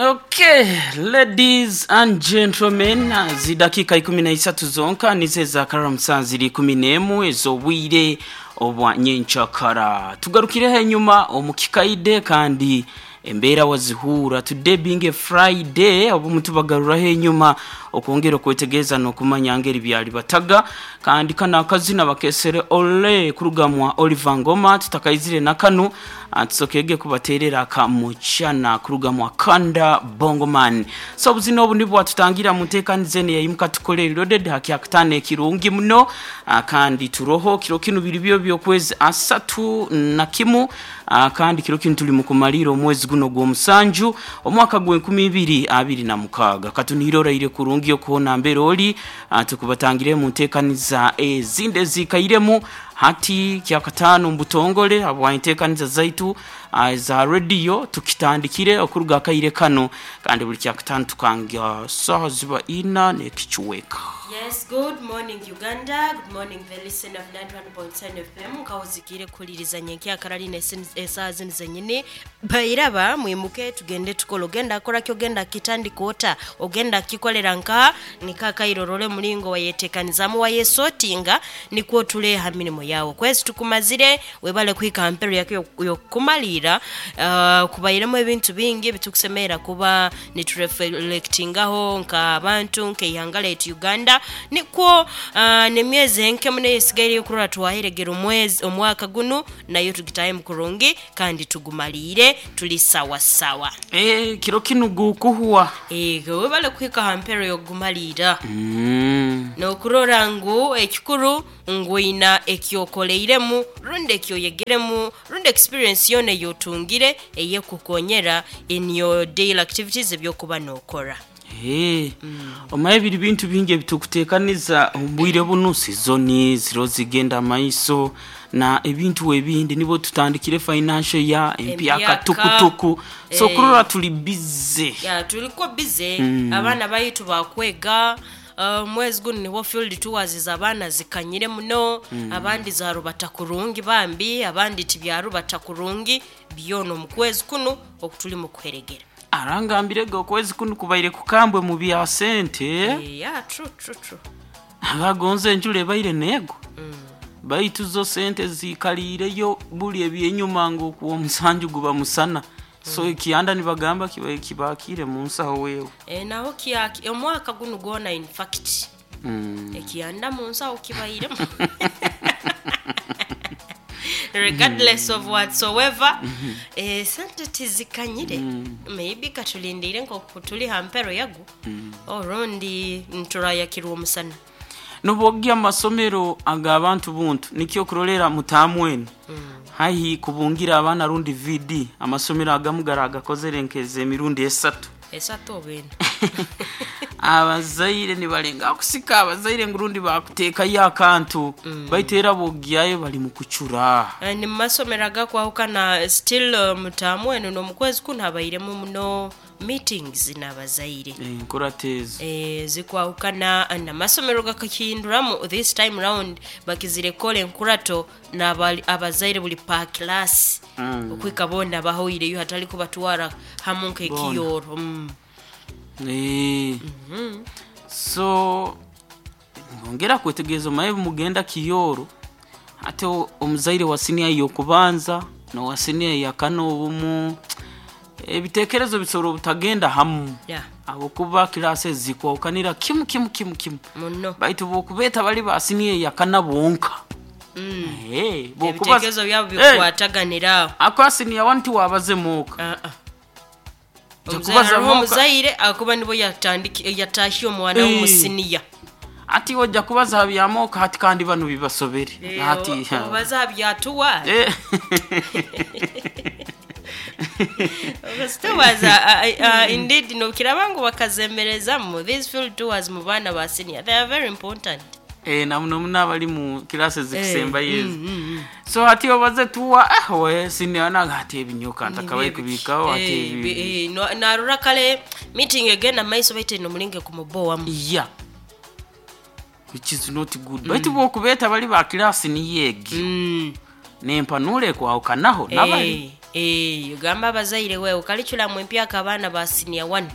Okay, ladies and gentlemen, zidakika 13 zonka nizo ezakarara musanzu ziri 11 ez'obwire obwa nyenkyakara. Tugarukireho enyuma omu kikaide kandi embeera wazihuura. Today being a Friday, obumu tubagaruraho enyuma okwongera okwetegereza n'okumanya ngeri byali bataga. Kandi kano akazina bakesere Ole kuruga mwa Oliver Ngoma tutakaizire na kanu tusokege kubaterera aka Muchana kuruga mwa Kanda Bongo Man. So obuzina obu nibwo bwatutangira mu nteekaniza eno eyaimuka tukole reloaded ha kyakutaano ekirungi muno kandi turoho kiro kinu biri byo by'okwezi 31 kandi kiro kinu tuli mu kumaliira omwezi guno ogw'omusanju omwaka gw'enkumi ibiri abiri na mukaaga. Katunihire oraire kurungi okuhoona mbere ori tukubatangire mu nteekaniza ezindi eziikairemu hati kyakataano omu butongole habwa enteekaniza zaitu eza rediyo tukitandikire okuruga akaire kanu kandi buli kyakataano tukanga saaha ziba ina n'ekichweka. Yes, good morning Uganda, good morning the listener of 91.7 FM. Nkawuzikire kuhuliriza nyenkyakara lino esaaha zinu zenyini. Bairaba mwimuke tugende tukole. Ogenda kora ki ogenda kitandika ota? Ogenda kikolera nka niko akaire orole omulingo wayetekanizamu wayesotinga nikwo otule ha mirimo yawe. Okwezi tukumazire webale kuhika ha mpero yako y'okukumaliira. Kubairemu ebintu bingi ebitukusemerera kuba niturefelectingaho nk'abantu nk'eihanga lyaitu Uganda. Nikwo n'emyezi enke muno eyesigaireyo kurora twaheregera omwezi omwaka gunu nayo tugitahemu kurungi kandi tugumaliire tuli sawa sawa. Eeh kiro kinu gukuhwa. Eeh webale kuhika ha mpero y'okugumaliira. N'okurora ngu ekikuru ngu oina ekyokoleiremu rundi ekyoyegeremu rundi experience yoona ey'otungire eyekukukonyera in your daily activities eby'okuba n'okora. Eeh omaye biri bintu bingi ebitukutekaniza omu bwire bunu, sizoni ziriho zigenda maiso na ebintu ebindi nibwo tutandikire financial year empyaka Empyaka. tukutuku so Eh. kurora tuli busy. Ya tuliko busy abaana baitu bakwega omwezi gunu nibwo field tours z'abaana zikanyire muno abandi zarubata kurungi bambi abandi tibyarubata kurungi byona omu kwezi kunu oku tuli mu kuheregera. Arangambire ge okwezi kunu kubaire kukambwe mu bya sente. Yeah, true, true, true. Abagonza enjura ebaire neegwa baitu zo sente ziikaliireyo buli ebyenyuma ngu okuwa omusanju guba musana so ekiyanda nibagamba kibaire kibakiire mu nsaho wewe. Eh, naho kya omwaka gunu gwona in fact ekiyanda mu nsaho kibairemu regardless of whatsoever eh, sente tizikanyire maybe katulindiire nkoku tuli ha mpero yago orundi nturayakirwa omusana. Nobwogya omu masomero ag'abantu buntu nikyo okurorera mutaamu enu haihi kubungira abaana rundi VD amasomero agamu garagakozere nk'ez'emirundi esatu. Esatu oba ena. Abazaire nibalengaho kusika abazaire ngu rundi bakuteekayo akantu baitu era bwogyayo bali mu kucura. Ni mu masomero agakwahukana still mutaamu enu n'omu kwezi kunu habairemu muno meetings n'abazaire. Enkurato ezo. Zikwahukana n'amasomero gakakihinduramu this time round bakizire kukora enkurato n'abazaire buli per class okuhika boona bahoireyo hatari kubatwara hamu nk'ekiyooro. So nyongera kwetegereza omaye mugenda kiyooro hati omuzaire wa siniya ey'okubanza n'owa siniya eyakana obumu ebitekerezo bisobora obutagenda hamu Yeah. habwokuba kilaasi ezi zikwahukanira kimu kimu kimu kimu Muno. baitu bwokubeeta bali ba siniya eyakana bonka Eh, bwokuba- Ebitekerezo byabo Eh, bikwataganira aho. akwa siniya wani tiwabaze muuka Ah, ah. Nja Omuzaire kubaza hariho muuka. omuzaire akuba nibwo yatandiki yatahya omwana Eh. w'omusiniya. Ati ojja kubaza ha byamooka hati kandi banu bibasobere hati Obaza aha byatuwa. Eh. Tours indeed nokiraba ngu bakazemerezamu these field tours mu baana ba senior they are very important. Eh, na muno muno abali mu kilasi ezikusembayo ezo so hati obaze tuwa ah, we senior naga hati ebinyoka ntakabaye kubikaho hati ebi Narora kale meeting egenda maiso baitu eno mulinge kumubowamu. Yeah, which is not good baitu bwokubeeta bali ba kilasi niyo egi nempanura ekwahukanaho nabali. Eh, ogamba abazaire wewe curriculum empyaka abaana ba senior one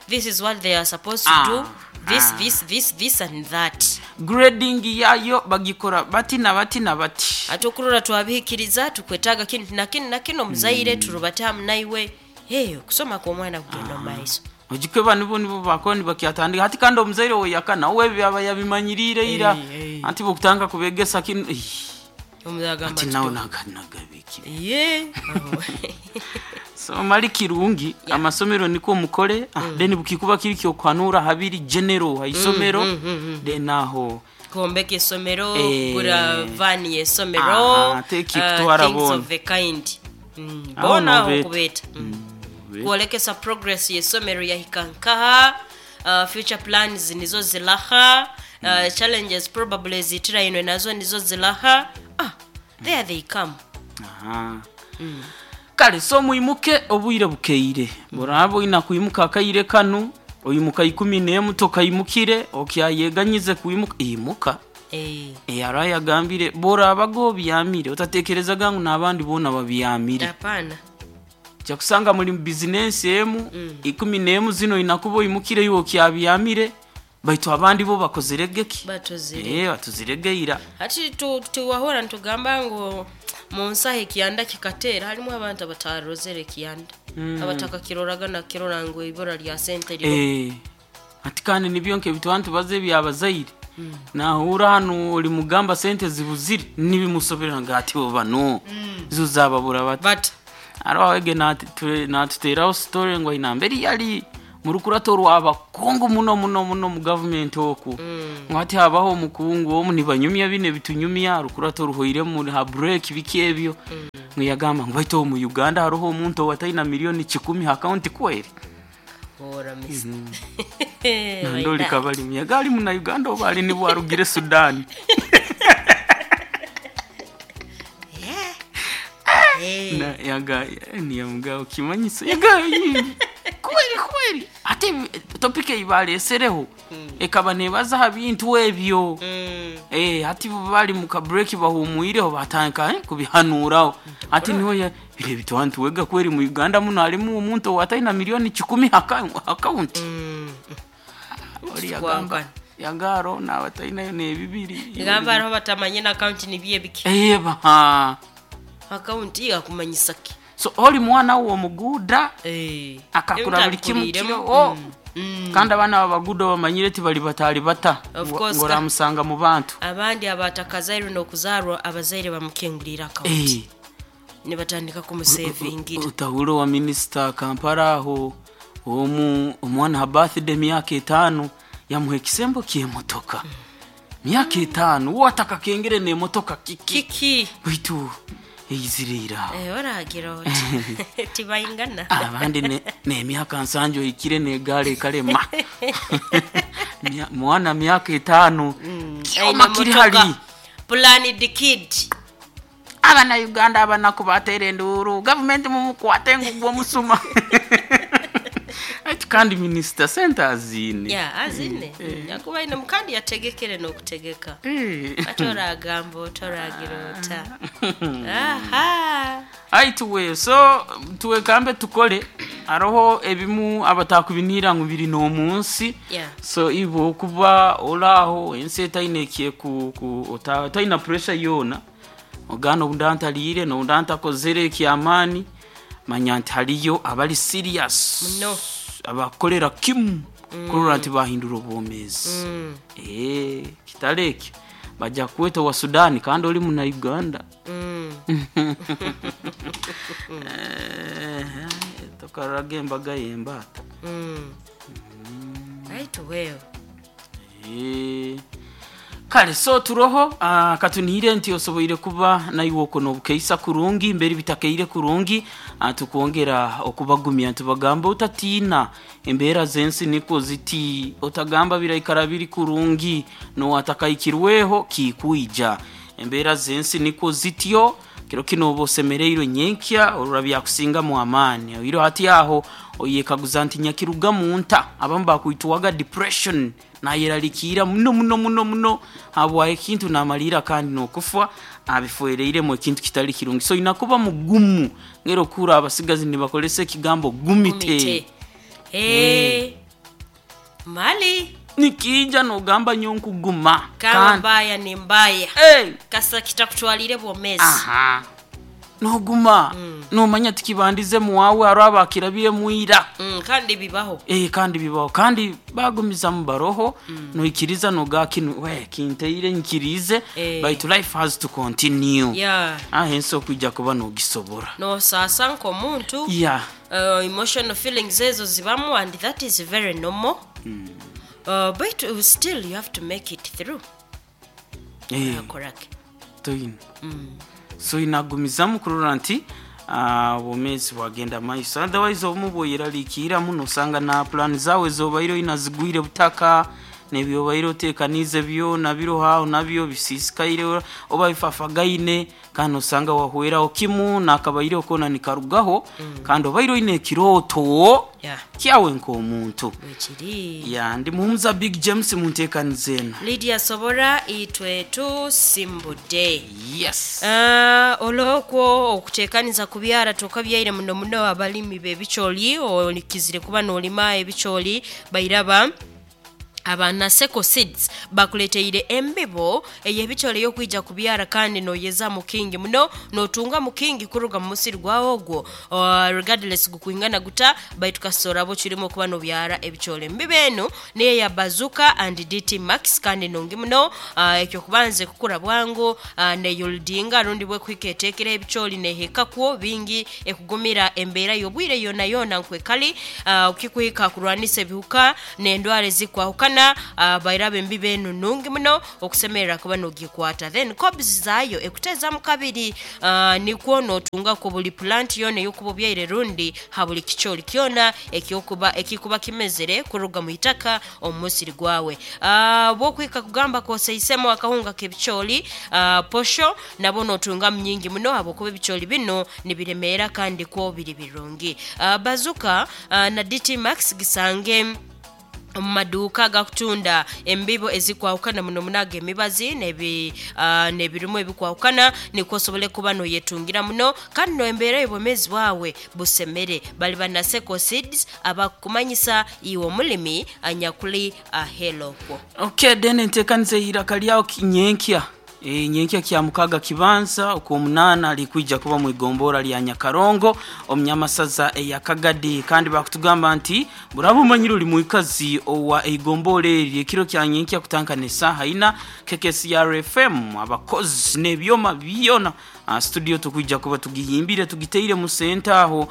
this is what they are supposed to Ah, do this ah. this this this and that. Grading yayo bagikora bati na bati na bati. Ate okurora twabihikiriza tukwetaaga kinu na kinu na kinu omuzaire turubatamu naiwe. Hey, okusoma kw'omwana kugenda omu maiso. Ojikwe banu bo nibo bakoni bakyatandika hati kandi omuzaire we yakana we byaba yabimanyirire ira. Eh, eh. Anti bokutanga kubegesa kinu ih, Omuzaire agamba ati ati, nawe naganagabiki. Ye aho. So mali kirungi amasomero niko mukole ah, then bukikuba kiri kyokuhanura habiri general haisomero then aho kwombeka essomero, Eh. kugura vaani y'essomero, Aha, take kutwara things boona. of the kind. Aho Boona aho nobeeta. okubeeta. Kwolekesa progress y'essomero yahika nkaha, future plans nizo zilaha, challenges probably ezitirainwe nazo nizo zilaha. Ah, there they come. Aha. Kale so mwimuke obwire bukeire buraba oina kwimuka akaire kanu oyimuka 11 tokaimukire okyayeganyize kwimuka imuka. Eh, Eyara yagambire boraba obyamire otatekerezaga ngu n'abandi boona babyamire. Hapana. Kyakusanga muri mu bizinesi emu 11 zino inakuba oyimukire iwe okyabyamire baitu abandi bo bakozerege ki? Batuzire. Eh, batuziregeira. Hati tuwahora nitugamba ngu mu nsaho ekiyanda kikateera harimu abantu abatarozere ekiyanda, abatakakiroraga nakirora ngu ibura lya sente riro. Eh, ati kandi nibyo nkebitwa ntubaze ebyabazaire nahura hano oli mugamba sente zibuzire nibimusobera nga ati bo bano zo zababura bati but ariho wege natuteraho story ngo ina mbere yali murukurato rw'abakungu muno muno muno mu government oku ngo ati habaho omukungu omu nibanyumya bine bitunyumya rukurato ruhoire mu ha break biki ebyo ngo yagamba ngo baitu mu Uganda hariho omuntu owataina 100,000,000 account kweri. Bora misi. Nandoli kabali miyagali muna Uganda oba ali nibwo arugire Sudan. Na yaga niyamuga okimanyiso yaga kweri kweri ate topic ibalesereho ekaba nebaza ha bintu ebyo. Eh, ati bali mu ka break bahumwireho batandika kubihanuraho ati niho bire bitwantu wega kweri mu Uganda muno harimu omuntu owataina 100,000,000 account. Oli yagamba Kwangana. yagaro nabatainayo nebibiri. Ngamba hariho batamanye na account nibiye biki. Eba Account yakumanyisa ki? So oli mwana wo omuguda Eh, akakura buli kimu ebitabikurire. kiro kandi abaana babaguda bamanyire tibali batali bata Of course, ngoramusanga mu bantu. Abandi abatakazairwe n'okuzaarwa abazaire bamukingurira account nibatandika kumusevingira. Utahuro wa minisita Kampala aho omu omwana ha birthday myaka 5 yamuha ekisembo ky'emotoka myaka 5 wataka kengere n'emotoka kiki? Kiki? Baitu eiziriira. Eh, oragira oti tibaingana. Abandi nemyaka 7 ohikire negaale ekalema. Mwana myaka 5 kyoma Aine kiri motoka. hali. Plan the kid. Abana Uganda abanaku batera enduuru gavumenti mumukwate ngu gwomusuma ati kandi minisita sente aziine. Ya azine yakuba ine mukandi yategekere n'okutegeka. Ate oragamba otoragira ota aha. Ai tuwe so tuwekambe tukole hariho ebimu abatakubiniira ngu biri n'omunsi. So ibo okuba oraho ensi etaine ekie otaina pressure yoona ogana obunda ntaliire nobunda ntakozere ekyamaani manya nti hariyo abali serious Muno. abakolera kimu kurora nti bahindura obwomeezi. Eh, kitale ekyo bajja kukweta owa Sudan kandi oli muna Uganda. Eh, tokarraga embaga y'embaata. Right well. Eh, kale so turoho katunihire nti osoboire kuba naiwe oko nobukeisa kurungi mbere bitakeire kurungi tukwongera okubagumya ntubagamba otatiina embeera z'ensi niko ziti otagamba biraikara biri kurungi nowatakahikirweho kikwija embeera z'ensi niko zityo kiro kino oba osemereirwe nyenkya orura byakusingamu amaani oiro hati aho oyekaguza nti nyakiruga munta abamu bakwitwaga depression. Nayeralikiira muno muno muno muno habwa ekintu namaliira kandi n'okufa abifwereiremu ekintu kitali kirungi. So oina kuba mugumu ngera okuhurra abasigazi nibakoresa ekigambo gumite. Gumite. Eh. Mali Nikiija nogamba nyowe nkuguma. kama Kandi mbaya ni mbaya. hey! Kasa kitakutwalire bwomezi. Aha. Noguma nomanya tikibandize muwawe hariho abakirabiremu ira. Kandi bibaho. Kandi bibaho kandi bagumizamu baroho noikiriza noga kinu we kinteire nkirize baitu life has to continue. Yeah. Ahensi okwija kuba nogisobora. Nosasa nk'omuntu. Yeah. Emotional feelings ezo zibamu and that is very normal. But still you have to make it through. Akorake. Toyina. So inagumizamu kurora nti obwomeezi bwagenda maiso. Otherwise obumu bwoyeraliikirramu nosanga na plan zawe zobaire oina zigwire butaka nebyobaire otekaniize byona biroho aho nabyo bisisikaire oba bifafagaine kandi nosanga wahweraho kimu nakabaireho koona nikarugaho kandi obaire oine ekirooto Yeah. kyawe nk'omuntu. Bwekiri. Ya ndi muhumuza Big James munteekaniza eno. Lydia Sobora itwe tusimbudde. Yes. Olwokwo okuteekaniza kubyara tokabyaire muno muno abalimi b'ebicooli olikizire kuba n'olima ebicooli bairaba abanaseko seeds bakuleteire embibo ey'ebicooli ey'okwija kubyara kandi noyeza mukingi muno notunga mukingi kuruga mu musiri gwawe ogwo regardless gukwingana guta baitu kasora bo kirimo kuba nobyara ebicooli. Embibo eno niyo ya Bazooka and DT Max kandi nungi muno ekyo kubanze kukura bwangu neyoldinga rundi bwekuhika etekera ebicooli nehekakwo bingi ekugumira embeera y'obwire yona yona nkwekali ukikuhika kurwanisa ebihuka n'endwara ezikwahukana bairaba embibo eno nungi muno okusemerera kuba nogikwata. Then cobs zayo ekutezamu kabiri nikwo notungako buli plant yona eyokuba obyaire rundi ha buli kicooli kyona ekyokuba ekikuba kimezere kuruga mu itaka omu musiri gwawe. Bwokuhika kugamba koseisemu akahunga k'ebicooli posho nabo notunga nyingi muno habwokuba ebicooli bino nibiremeera kandi kwo biri birungi. Bazooka na DT Max gisange omu maduuka agakutunda embibo ezikwahukana muno muno ag'emibazi n'ebirimu ebikwahukana nikwo osobole kuba noyetungira muno kandi noembeera y'obwomeezi bwawe busemere. Bali banaseko seeds abakukumanyisa iwe omulimi anyakuli ahelokwo. Okay, then enteekaniza eiraka lyawo nyenkya. Nyenkya kya mukaga kibanza okwomunaana likwija kuba mu igombora lya Nyakarongo omunyamasaza eya Kagadi kandi bakutugamba nti buraba omanyire ori mwikazi owa eigombora eri ekiro kya nyenkya kutankana esaaha ina KKCR FM abakozi n'ebyoma byona studio tukwija kuba tugihimbire tugiteire mu senta aho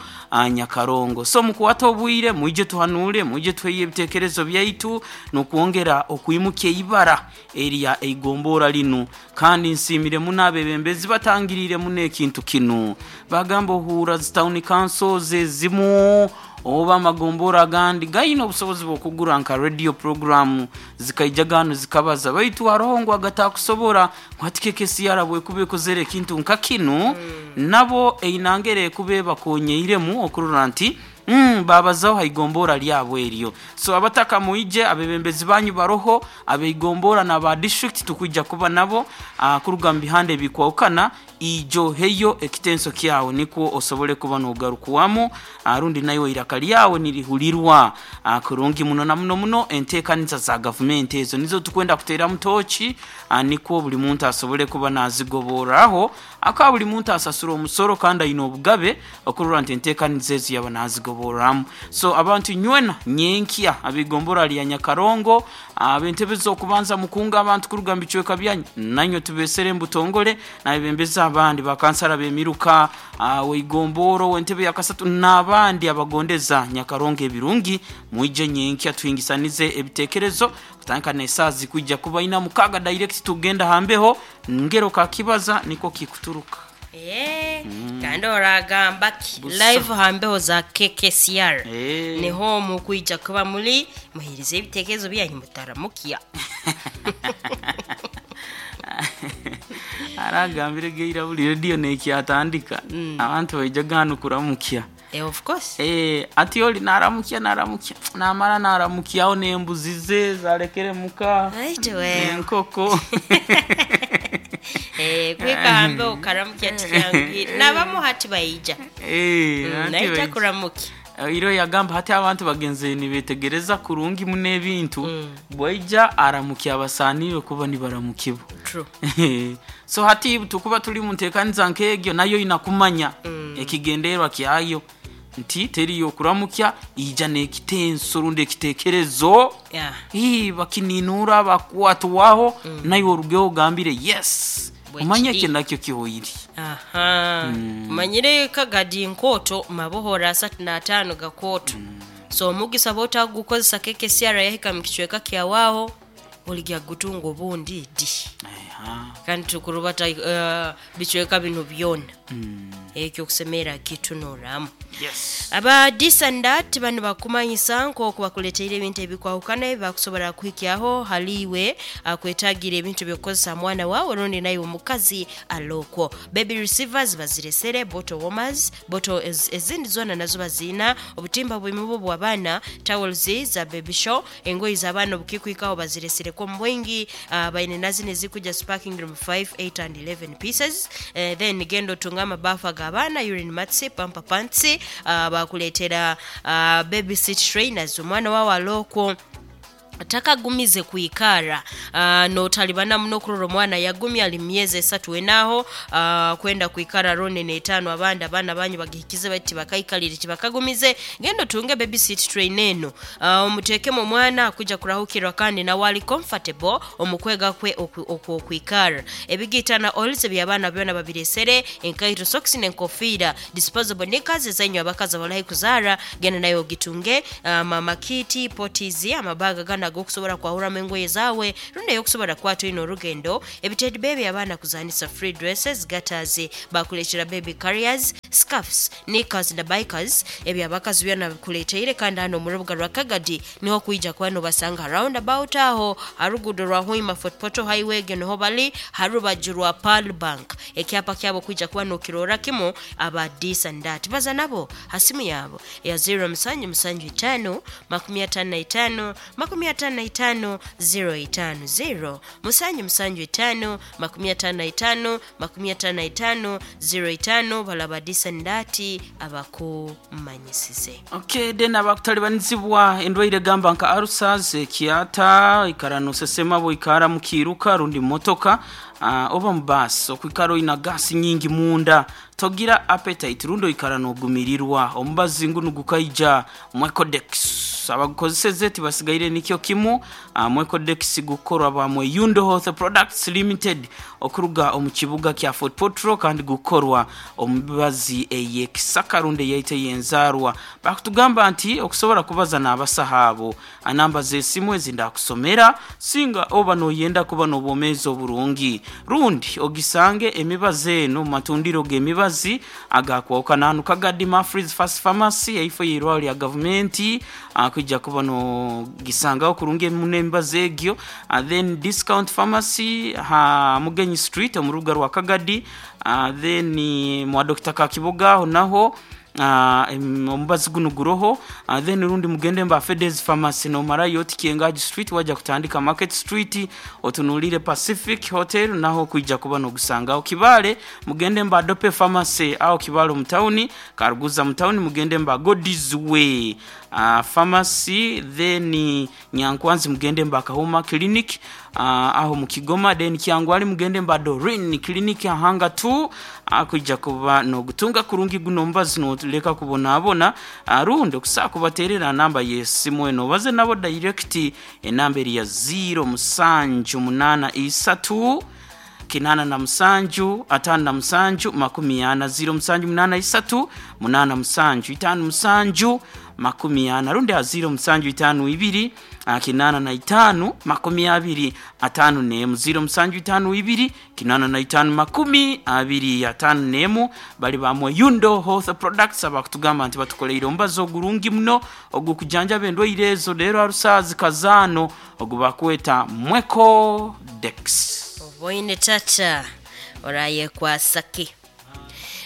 Nyakarongo. So mukwata obwire mwije tuhanure mwije tuheye ebitekerezo byaitu n'okwongera okwimuka eibara erya eigombora linu kandi nsimire muno abebembezi batangirire muno ekintu kinu. Bagamba ohura zi town councils ezimu oba amagombora agandi gaine obusobozi bw'okugura nka radio program zikaija hanu zikabaza baitu hariho ngu agatakusobora ngu hati KKCR bwekuba ekozere ekintu nka kinu nabo einangere ekuba ebakonyeiremu okurora nti babazaho haigombora lyabo eryo. So abataka muije abebembezi banyu baroho abeigombora na ba district tukwija kuba nabo kuruga mu bihande ebikwahukana ijo heyo ekitenso kyawe nikwo osobole kuba nogarukuwamu rundi naiwe iraka lyawe nirihulirwa kurungi muno na muno muno enteekaniza za gavumenti ezo nizo tukwenda kuteeramu tochi nikwo buli muntu asobole kuba nazigoboraho aka buli muntu asasura omusoro kandi aine obugabe okurora nti enteekaniza ezo yaba nazigoboramu. So abantu nywena nyenkya abigombora lya Nyakarongo ab'entebe z'okubanza mukunga abantu kuruga mu bicweka byanyu nanywe tubesere mbutongole nabebembezi abandi bakansara b'emiruka weigomboro w'entebe ya kasatu n'abandi abagondeza Nyakarongo ebirungi mwije nyenkya tuhingisanize ebitekerezo kutandika esaaha zikwija kuba ina mukaga direct tugenda hambeho ngero kakibaza niko kikuturuka. Kandi oragamba ki Busa. Live hambeho za KKCR niho mukwija kuba muri muhirize ebitekerezo byanyu mutaramukiya. Aragambire geira buli radio nekyatandika abantu baijaga hanu kuramukya. Eh, of course. Eh, ati oli naramukya naramukya namara naramukyaho n'embuzi ze zarekere muka Right, well. n'enkoko. Eh, kwikambe okaramukya tikyangwire nabamu hati baija. Eh, anti Naija kuramukya. Iro yagamba hati abantu bagenze nibetegereza kurungi muno ebintu bwaija aramukya abasanire kuba nibaramukibwa. True. So hati tukuba turi mu nteekaniza nk'egyo nayo inakumanya ekigendererwa kyayo nti teriyo kuramukya ija n'ekitenso rundi ekitekerezo. Yeah. Ii, bakininura bakwatwaho nayo orugeho ogambire yes. Bwekiri. Omanye ekyo nakyo kihoire. Aha. Manyire kagadi nkoto mabohora 35 gakoto. So omugisa bwotagukozesa KKCR yahika mu kicweka kyawaho oligya gutunga obundi di. Aha. Kandi tukurubata bicweka bino byona. Ekyo kusemera kitunoramu. Yes. Aba this and that bano bakumanyisa nk'oku bakuleteire ebintu ebikwahukana ebibakusobola kuhikyaho haliiwe akwetagira ebintu by'okukozesa mwana wawe rundi naye omukazi alokwo. Baby receivers baziresere, bottle warmers, bottle ezindi zona nazo baziina, obutimba bw'emibu bw'abaana, towels za baby show, engoyi z'abaana obukikwikaho baziresereko omu bwingi, baine nazino ezikuja sparking room 5, 8 and 11 pieces. Then genda otunga amabafu ag'abaana, urine mats, pamper pants, bakuleetera baby seat trainers omwana wawe alokwo takagumize kwikara, notalibana muno kurora omwana yagumya ali myezi 3 enaho, kwenda kwikara rone n'etaano abandi abaana banyu bagihikize bati bakaikalire tibakagumize. Genda otunge baby seat train eno, omuteekemu omwana akuja kurahukirwa kandi nawe ali comfortable omukwega kwe okwikara. Ebigiitana oils eby'abaana byona babiresere, enkaito, socks n'enkofiira, disposable knickers ezainywe abakazi abalahi kuzaara, genda nayo ogitunge, mama kiti potizi amabaga gana agokusobola kwahuramu engoye zawe rundi eyokusobola kwata oine orugendo, ebitedi bebi abaana kuzanisa, free dresses, gutters, bakuleetera baby carriers, scarfs, knickers na bikers ebyo abakazi byona bikuleteire. Kandi hano omu rubuga rwa Kagadi niho kwija kuba nobasanga round about aho harugudo rwa Hoima Fort Portal Highway egyo niho bali harubaju rwa Pearl Bank, ekyapa kyabo kwija kuba nokirora kimu. Aba this and that baza nabo hasimu yabo ya 0 musanju musanju 5 55 55 0 5 0 musanju musanju 5 55 55 0 5 balaba this and that abakumanyisize. Okay, then abakutalibanizibwa endwaire gamba nka ulcers, ekiata, ikara nosesema bwikara mukiruka rundi motoka, oba mu bus okwikara oina gasi nyingi munda togira appetite rundi oikara nogumirirwa omubazi nguno gukaija Mwecodex abagukozeseze tibasigaire nikyo kimu. Mwecodex gukorwa ba Mweyundo Health Products Limited okuruga omu kibuga kya Fort Portal kandi gukorwa omubazi eyekisaka rundi eyaite yenzarwa. Bakutugamba nti okusobola kubaza n'abasaha abo anamba z'esimu ezi ndakusomera singa oba noyenda kuba n'obwomeezi oburungi rundi ogisange emibazi eno mu matundiro g'emibazi agakwawukana hanu Kagadi Mafris Fast Pharmacy eifo y'eirwaro lya gavumenti, kwijja kuba nogisangaho kurungi muno emibazi egyo. Then Discount Pharmacy ha Mugenyi Street omu rubuga rwa Kagadi, then mwa Dr. Kakiboga aho naho omubazi guno guroho. Then rundi mugende mba Fedes Pharmacy nomarayo Tikiengaji Street wajja kutandika Market Street otunulire Pacific Hotel naho kwijja kuba nogusangaho. Kibale mugende mba Dope Pharmacy aho Kibale mu town, Karuguza mu town mugende mba God's Way Pharmacy, then Nyankwanzi mugende mba Kahoma Clinic, aho mu Kigoma, then Kyangwali mugende mba Dorin Clinic ahanga 2, kwijja kuba nogutunga kurungi guno mbazi noleka kubonabona. Rundi okusaa kubaterera namba yesimu eno baze nabo direct enamba eri ya 0 musanju munana isatu kinana na musanju atano na musanju makumi ana 0 musanju munana isatu munana musanju itano musanju makumi ana rundi a 0 musanju itano ibiri kinana na itano makumi abiri atano nemu 0 musanju itano ibiri kinana na itano makumi abiri atano nemu. Bali bamwe Yundo Health Products abakutugamba nti batukoleire omubazi ogurungi muno ogukujanjaba endwaire ezo leero arusazi kazaano ogubakweta Mweko Dex. Oboine tata orayekwasaki.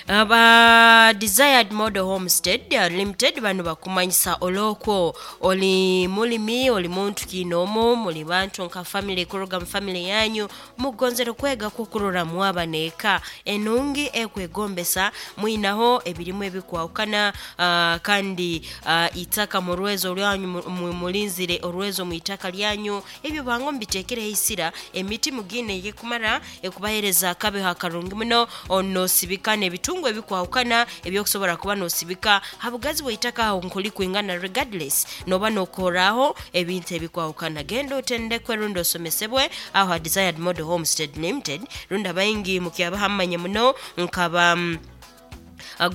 Aba Desired Model Homestead Limited bano bakumanyisa olwokwo oli mulimi oli muntu kiinoomu muli bantu nka family kuruga mu family yanyu mugonzere kwega kukurora mwaba neeka enungi ekwegombesa mwinaho ebirimu ebikwahukana kandi itaka mu rwezo rwanyu mulinzire orwezo mu itaka lyanyu ebyo bango mubiteekereho eisira emiti mugine eyekumara ekubahereza akabeho akarungi muno onosibika n'ebitungu ebikwahukana ebyokusobora kuba nosibika habugazi bw'eitaka aho nkuli kwingana regardless noba nokoraho ebintu ebikwahukana genda otendekwe rundi osomesebwe aho ha Desired Model Homestead Limited rundi abaingi mukyabahamanye muno nkaba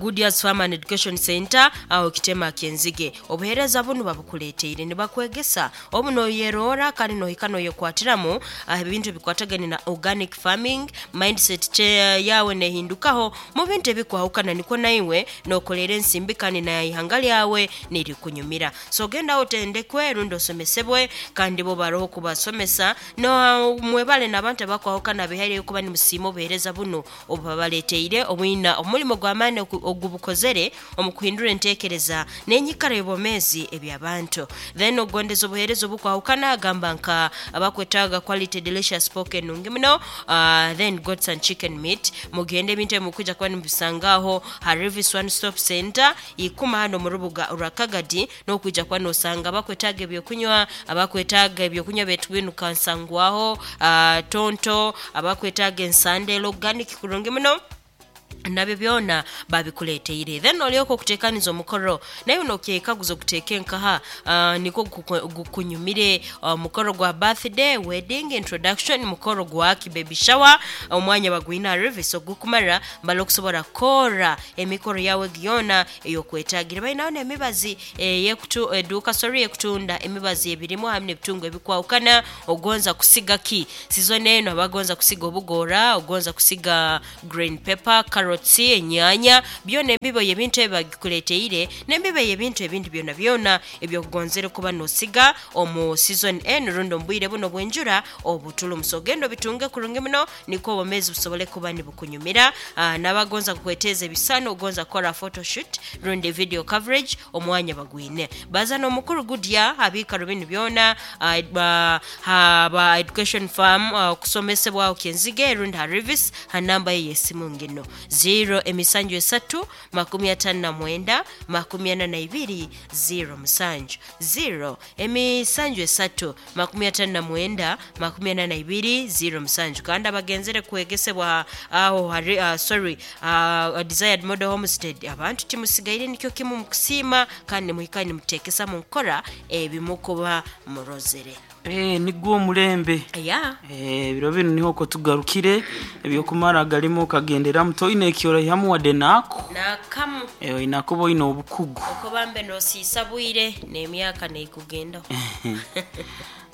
Goodyear's Farm and Education Center aho kitema kyenzige obuhereza bunu babukuleteire nibakwegesa obu noyerora kandi nohika noyekwatiramu ebintu ebikwatagane na organic farming mindset che yawe nehindukaho mu bintu ebikwahukana niko naiwe nokolera ensimbi kandi na ihanga lyawe nirikunyumira so genda otendekwe rundi osomesebwe kandi bo baroho kubasomesa no mwebale n'abantu abakwahukana bihaire kuba nimusiima obuhereza buno obubabaleteire obwina omulimo gw'amaani ogubukozere omu kuhindura enteekereza n'enyikara y'obwomeezi eby'abantu then ogondeza obuheereza obukwahukana agamba nka abakwetaaga quality delicious pork enungi muno then goats and chicken meat mugende ebintu ebi mukwija kuba nimubisangaho ha Revis One Stop Center ikuma hano mu rubuga rwa Kagadi n'okwija kuba nosanga abakwetaaga ebyokunywa abakwetaaga ebyokunywa betu binu kansangwaho tonto abakwetaaga ensandelo organic kurungi muno nabyo byona babikuleteire then olyoka okutekaniza omukoro naye nokyekaguza okuteeka enkaha niko gukunyumire omukoro gwa birthday wedding introduction mukoro gwaki baby shower omwanya bagwina Revis ogukumara mbala okusobora kukora emikoro yawe gyona eyokwetagira balinaho n'emibazi eduuka sorry ekutunda emibazi ebirimu hamwe n'ebitungu ebikwahukana ogonza kusiga ki season eno abagonza kusiga obugora ogonza kusiga green pepper carrots enyanya byona embibo y'ebintu ebi bagikuleteire n'embibo y'ebintu ebindi byona byona ebyokugonzere kuba nosiga omu season eno rundi omu bwire buno bw'enjura obutulumu so genda obitunge kurungi muno niko obwomeezi busobole kuba nibukunyumira n'abagonza kukweteza ebisano ogonza kukora photoshoot rundi video coverage omwanya bagwine baza n'omukuru gudya abiikaro binu byona haba education farm okusomesebwaho kyenzige rundi ha Revis ha namba ye y'esimu ngino 0 emisanju esatu 59 42 0 musanju 0 emisanju esatu 59 42 0 musanju kandi abagenzere kwegesebwa aho hari sorry Desired Model Homestead abantu timusigaire nikyo kimu mukusiima kandi muhika nimutekesa munkora ebimukuba murozere. Nigwo omulembe ya ebiro binu niho ko tugarukire ebyokumara galimu okagenderamu toine ekyoraihamu wadde naako nakamu oina kuba oine obukugu okubambe nosiisa bwire n'emyaka neikugendaho.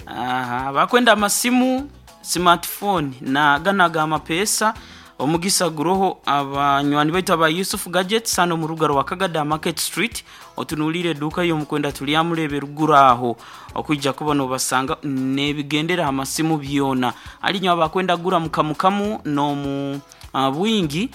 Aha, bakwenda amasimu smartphone na gana ga mapesa omugisa guroho abanywani baitu aba Yusuf Gadgets hano mu ruga rwa Kagada Market Street otunulire eduka y'omukwenda tulyamulebe ruguru aho okwijja kuba nobasanga nebigendera amasimu byona alinyo abakwenda gura mukamukamu nomu bwingi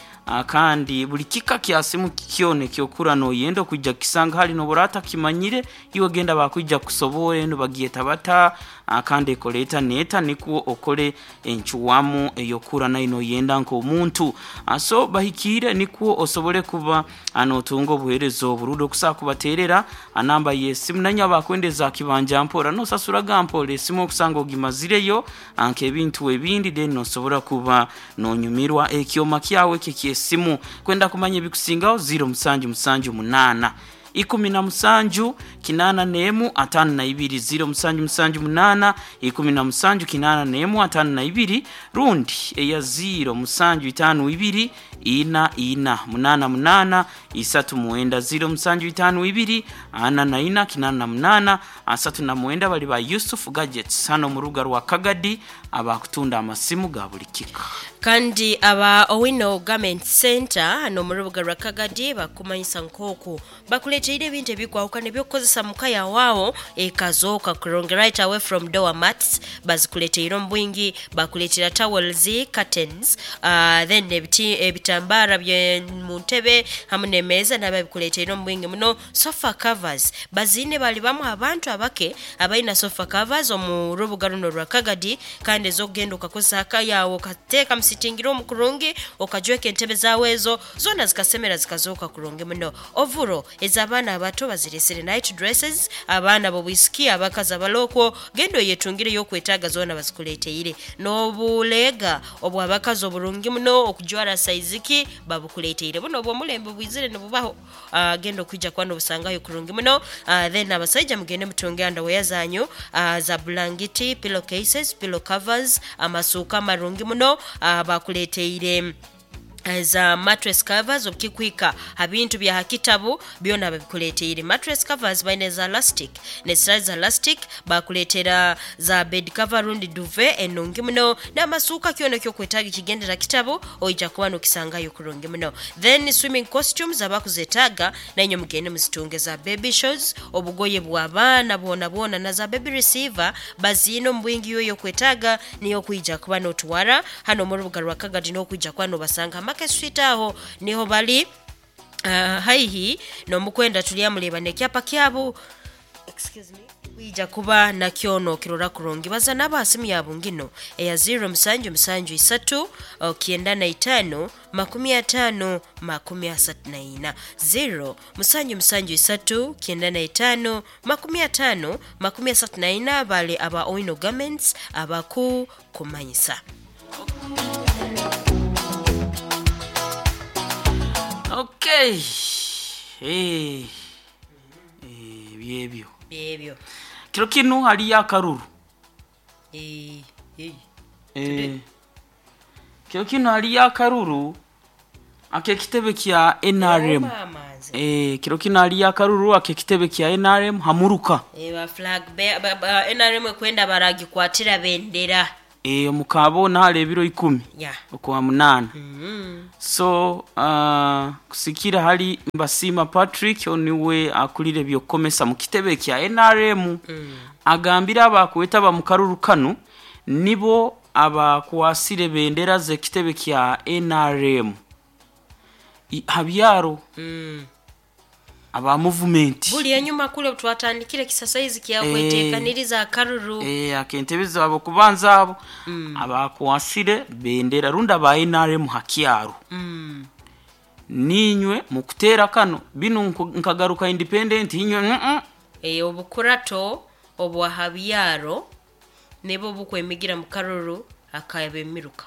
kandi buli kika kya simu kyone kyokura noyenda okwijja kisanga hali noborata kimanyire iwe genda bakwijja kusobora eno bagyeta bata kandi ekoleta neta nikwo okole enchuwamu eyokura nayo noyenda nk'omuntu so bahikire nikwo osobole kuba anotunga obuheereza oburundi okusobola kubaterera anamba y'esimu nanyo abakwendeza kibanja mpora nosasuraga mpora esimu okusanga ogimazireyo nk'ebintu ebindi then nosobora kuba nonyumirwa ekyoma kyawe kyesimu kwenda kumanya ebikusingaho 0 musanju musanju munana 17 81 52 0 musanju musanju munana 17 81 52 rundi eya 0 musanju itano ibiri ina ina munana munana isatu mwenda 0 musanju itano ibiri ana na ina kinana na munana asatu na mwenda bali ba Yusuf Gadgets hano mu ruga rwa Kagadi abakutunda amasimu ga buli kika. Kandi aba Owino Garment Centre hanu omu rubuga rwa Kagadi bakukumanyisa nk'oku bakureeteire ebintu ebikwahukana eby'okukozesa muka yaawe aho ekazooka kurungi right away from door mats bazikureeteire omu bwingi, bakureetera towels, curtains then ebiti ebitambaara bye mu ntebe hamu n'emeeza nabyo babikureeteire omu bwingi muno. Sofa covers baziine bari bamwe aha bantu abake abaine sofa covers omu rubuga runu orwa Kagadi kandi ez'okugenda okakozesa aka yaawe okateeka mu sitting room kurungi okajweka entebe zaawe ezo zoona zikasemera zikazooka kurungi muno. Ovuro ez'abaana abato bazireesire, night dresses, abaana b'obwisiki, abakazi abari okwo genda oyetungire ey'okwetaaga zoona bazikureeteire. N'obuleega obw'abakazi oburungi muno okujwara sayizi ki babukureeteire. Bunu obw'omulembe bwizire nibubaho. Genda okwija kuba nobusangayo kurungi muno. Then abasaija mugende mutunge underwear zanyu za bulangiti, pillow cases, pillow covers, amasuuka amarungi muno bakuleteire za mattress covers obukikuhika ha bintu bya ha kitabu byona babikuleteire. Mattress covers baine eza lastic n'ezitari za lastic, bakuleetera za bed cover rundi duvet enungi muno n'amasuuka kyona eky'okwetaaga ekigendera kitabu oija kuba nokisangayo kurungi muno. Then swimming costumes abakuzetaaga nainywe mugende muzitunge za baby shoes, obugoye bw'abaana bwonabwona na za baby receiver baziine omu bwingi iwe ey'okwetaaga niyo okwija kuba notwara hanu omu rubuga rwa Kagadi n'okwija kuba nobasanga ha Market Street aho niho bali haihi n'omukwenda Turyamureeba n'ekyapa kyabu. Excuse me. Kwija kuba nakyo nokirora kurungi. Baza nabo ha simu yabu ngino eya ziiro musanju musanju isatu kyenda na itaano 50 34. Ziiro musanju musanju isatu 95 50 34 bale aba Owino Garments abaku kumanyisa. Okay. Eh. Eh, byebyo. Byebyo. Kiro kinu hariyo akaruru. Eh, eh. Eh. Kiro kinu hariyo akaruru ak'ekitebe kya NRM. Mama nze. Eh, kiro kinu hariyo akaruru ak'ekitebe kya NRM hamuruka. Eh, ba flag bear, ba, ba, NRM ekwenda baragikwatira bendera. Eh, omukabona hali ebiro 10 Yeah. okwa munana. Mm. So kusikira hali Mbasima Patrick oniwe akulire byokomesa mu kitebe kya NRM agambira abakwetaba mu karuru kanu nibo abakwasire bendera z'ekitebe kya NRM habyaro aba movement Buli enyuma kule twatandikire kisasaizi kyakweteekaniriza akaruru. Akentebe zabo kubanza abo abakwasire bendera runda ba NRM hakyaro ninywe mukutera kano binu nkagaruka independent inywe Eh, obukurato obwa habyaro nibo bukwemigira mu karuru akabemiruka.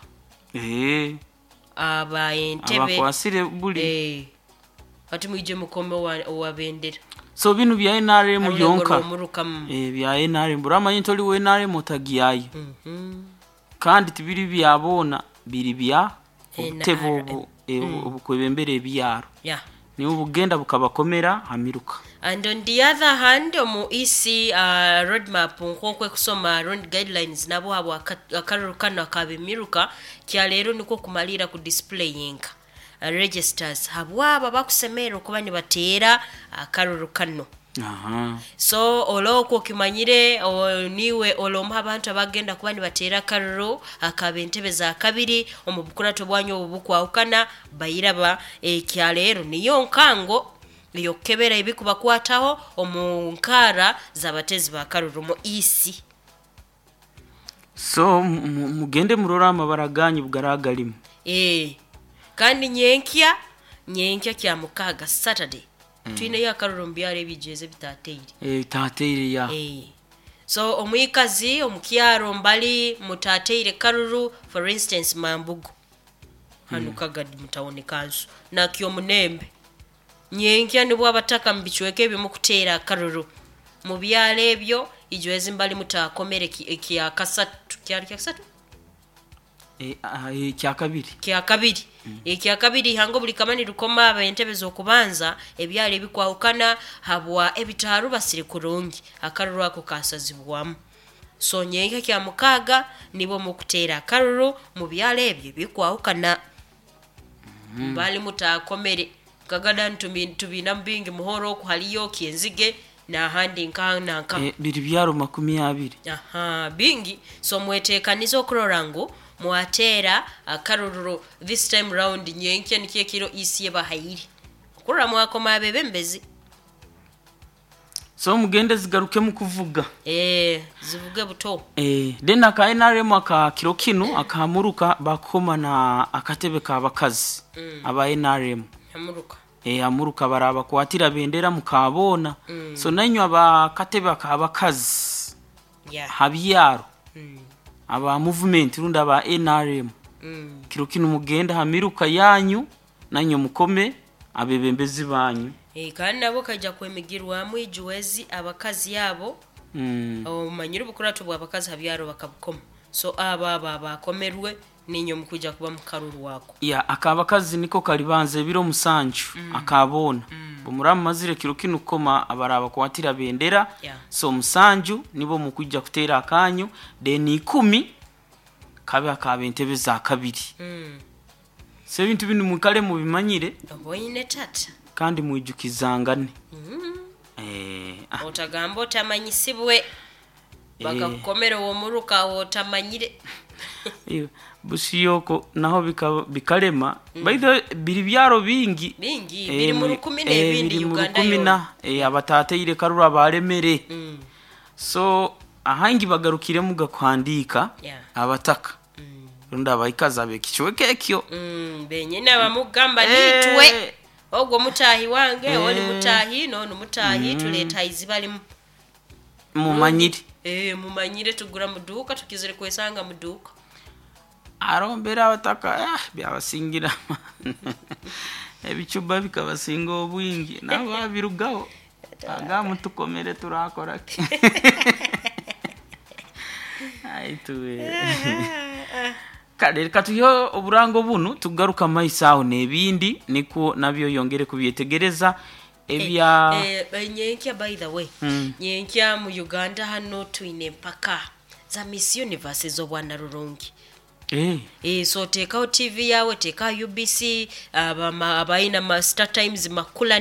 Aba entebe abakwasire buli ati mwije mukome owa bendera. So binu bya NRM Arurego byonka. rw'omurukamu. Bya NRM buramanye ntoli we NRM otagiyayo. Kandi tibiri byabona biri bya obutebe NRM. obu obukwebembera ebyaro. Yeah. Niwe bugenda bukabakomera hamiruka. And on the other hand, omu EC roadmap nk'okwe kusoma round guidelines nabo abo akaruru kano akabimiruka kya leero nikwo kumalira ku displaying registers habwabo bakusemerera okuba nibateera akaruru kano. So olwokwo okimanyire niwe olwomu abantu abagenda kuba nibateera akaruru akaba entebe za kabiri omu bukurato bwanyu obu bukwahukana bayiraba ekya leero niyo nkango eyokukebera ebikubakwataho omu nkaara z'abateezi ba karuru mu EC. So mugende murore amabara ganyu bugaraagarimu. Kandi nyenkya kya mukaaga Saturday twineyo akaruru omu byaro ebigyeze ebitateire. Tateire ya. So omwikazi omu kyaro mbali mutateire karuru, for instance Mambugu hanu Kagadi mu town council nakyo Munembe nyenkya nibwo abataka mu bicweka ebimu kuteera akaruru mu byaro ebyo ijwezi mbali mutakomere kya kasatu, kyari kya kasatu? Kya kabiri. Kya kabiri. Ekya kabiri hango buli kamani rukoma aba entebe z'okubanza ebyalo ebikwahukana habwa ebitaaru basiri kurungi akaruru ako kasazibwamu. So nyenkya kya mukaaga nibo mukuteera akaruru mu byaro ebyo bikwahukana. Bali mutakomere kagada ntubina bingi muhoro oku haliyo kyenzige n'ahandi nka nanka. Biri byaro 20. Aha, bingi. So mwetekanize okurora ngu mwateera akarururo this time round nyenkya nikyo ekiro isi ebahaire okurora mwakoma abebembezi. So mugende zigarukemu kuvuga. Zivuge buto. Then aka NRM aka kiro kinu akamuruka bakoma na akatebe k'abakazi aba NRM. Amuruka. Amuruka barabakwatira bendera mukabona. So nainywe abakatebe ak'abakazi habyaro aba movement rundi aba NRM. Kiro kinu mugenda hamiruka yanyu nanywe mukome abebembezi banyu. Kandi nabo kajya kwemigirwamu ijuwezi abakazi yabo. Omanyire obukuratu bw'abakazi habyaro bakabukoma. So aba bakomerwe ninyo mukuja kuba mukaruru wako. Ya akabakazi niko kalibanza ebiro 7 akabona. Bumuramu mazire kiro kinu koma abaraba kwatira bendera. So 7 nibo mukuja kutera akanyu then 10 kabe akabe entebe za kabiri. So ebintu binu mukale mubimanyire. Oboine tata. Kandi mwijukizangane. Otagamba otamanyisibwe. Bakakukomera uwo muruka otamanyire. Busiyoko naho bikalema. By the way, biri byaro bingi. Bingi, biri mu rukumi n'ebindi Uganda yona. Abatateire karura baremere. So ahangi bagarukire muga kwandika abataka. Runda abayikaza bekichweke ekyo. Benyine abamugamba nitwe. Ogwo mutahi wange, oli mutahi, nono mutahi, tuleta izibali mumanyire. Mumanyire tugura muduka tukizire kwesanga muduka. Arombera abataka byabasingira. Ebichuba bikabasinga obwingi nabo babirugaho. Aga mutukomere turakora ki. Aituwe. Kale katuyo oburango bunu tugaruka maisa aho nebindi niko nabyo yongere kubyetegereza ebya nyenkya by the way. Nyenkya mu Uganda hano twine mpaka za Miss Universe z'obwana rurungi. So tekaho TV yawe, tekaho UBC, abaina ma Star Times makula.